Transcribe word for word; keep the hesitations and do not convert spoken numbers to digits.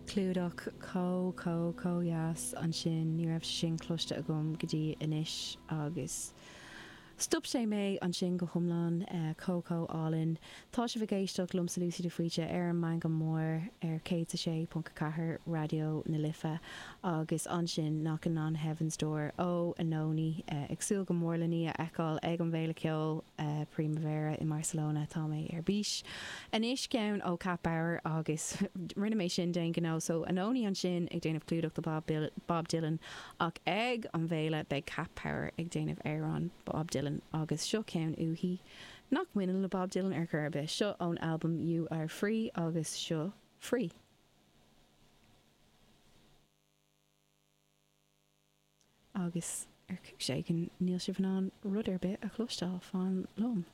Clúdach chomh chomh chomh dheas ansin ní raibh sin cloiste agam go dtí anois agus stop sé mé ansin go hiomlán eh, chomh chomh álainn. Tá sibh ag éisteacht liomsa Lucy de Faoite ar an Meangadh Mór ar céad a sé ponc ceathair Raidió na Life agus ansin Knockin' on Heaven's Door ó Anohni eh, ag súil go mór lena í a fheiceáil ag an bhFéile Ceoil eh, Primavera i Barcelona tá mé ar bís. Anois ceann ó Cat Power agus rinne mé sin d'aon ghnó so Anohni ansin ag déanamh clúdach do Bob, Bill, Bob Dylan ach ag an bhféile beidh Cat Power ag déanamh amhrán Bob Dylan agus seo ceann uaithi nach mbaineann le Bob Dylan ar chor ar bith seo ón album You Are Free agus seo Free. Agus ar chúis éigin níl sibh in ann rud ar bith a chloisteáil fan liom.